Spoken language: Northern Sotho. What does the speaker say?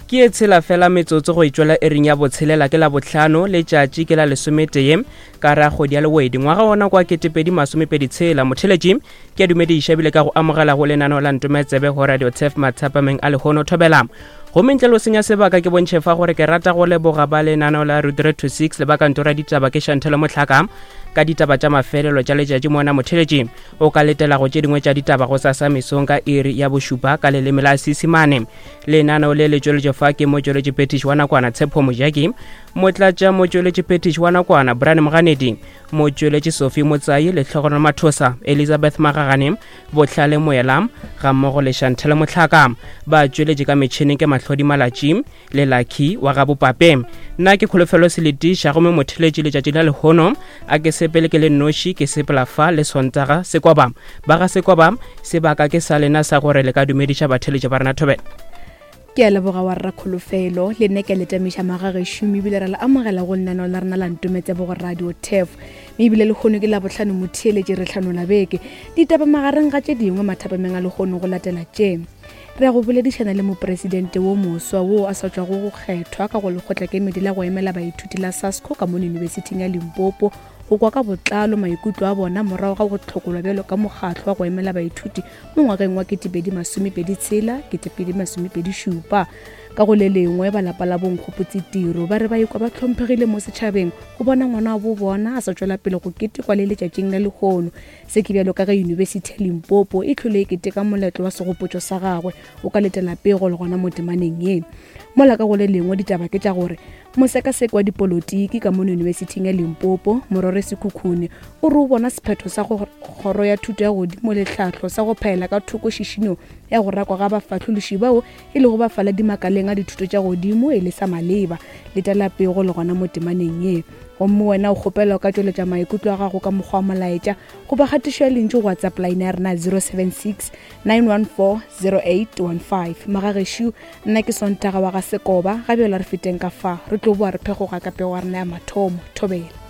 Ke e tshela fela metsotso go e tšwela ering ya botshelela ke la bohlano letšatši ke la lesometee ka ra kgwedi ya lewedi ngwaga wona kwa ketepedi masomepedi tshela motheletši ke a dumediša ebile ka go amogela go lenaneo la ntometsebe go radio tef mathapameng a lehono thobela gomme ntle lo senya sebaka ke bontšhe fa gore ke rata go leboga ba lenaneo la rudre to 6 le ba kantora ditaba ke šantelo motlhaka ka ditaba tša mafelelo tša letšatši mona motheletši o ka letela go tše dingwe tša ditaba go sasa mesong ka iri ya bošupa ka leleme la seesimane lenaneo le le tšweletšo fa ke motšweletši phetiši wa nakwana tshepho mojaki motlatša motšweletši phetiši wa nakwana brian moganedi motšweletši sophie motsai lehlogonolo mathosa elizabeth magagane bohlale moela ga mmogo le shantele motlhaka ba tšweletše ka metšhineng ke mahlodi malatši le lucky wa ga bopape nna ke kholofelo seletiša gomme motheletši letšatši la lehono a ke sepele ke le noši ke sepela fa le sontaga sekoba ba ga sekoba sebaka ke sa lena sa gore le ka dumediša batheletši ba rena thobela ke a leboga wa rra kholofelo le nne ke a letamiša magagešo ebile ra le amogela go lenaneo la rena la ntometsebo go radio tef mme ebile lehono ke labohlano motheeletše re hlanola beke ditaba magareng ga tše dingwe mathapameng a lehono go latela tše Re ya go boledišana le mopresidente wo moswa wo a sa tšwago go kgethwa ka go lekgotlakemedi la go emela baithuti la SASCO ka mono Yunibesithing ya Limpopo go kwa ka botlalo maikutlo a bona morago ga go hlokolwa bjalo ka mokgatlo wa go emela baithuti mo ngwageng wa 2026 2027. Ka go le lengwe, ba lapa la boNkgopotse Tiro ba re ba ikwa ba hlomphegile mo setšhabeng go bona ngwana wa bo bona a sa tšwela pele go ketekwa le letšatšing la lehono. Se ke bjalo ka ge Yunibesithi ya Limpopo e hlole e keteka moletlo wa segopotšo sa gagwe. O ka letela pego le gona mo temaneng ye. Mola ka go le lengwe ditaba ke tša gore mosekaseki wa dipolotiki ka mono Yunibesithing ya Limpopo, Morore Sekhukhune, o re o bona sephetho sa go Kgoro ya Thuto ya Godimo le Tlhahlo sa go phaela ka thoko šišinyo ya go rakwa ga bafahlološi bao e lego bafaladi makaleng a dithuto tša godimo e le sa maleba. Letela pego le gona mo temaneng ye. Gomme wena o kgopelwa o ka tšweletša maikutlo a gago ka mokgwa wa molaetša goba kgatišo ya lentšu go WhatsApp line ya rena 076 914 0815. Magagešo, nna ke Sontaga wa ga Sekoba, ga bjalo re feteng ka fa, re tlo boa re phegoga ka pego ya rena ya mathomo. Thobela.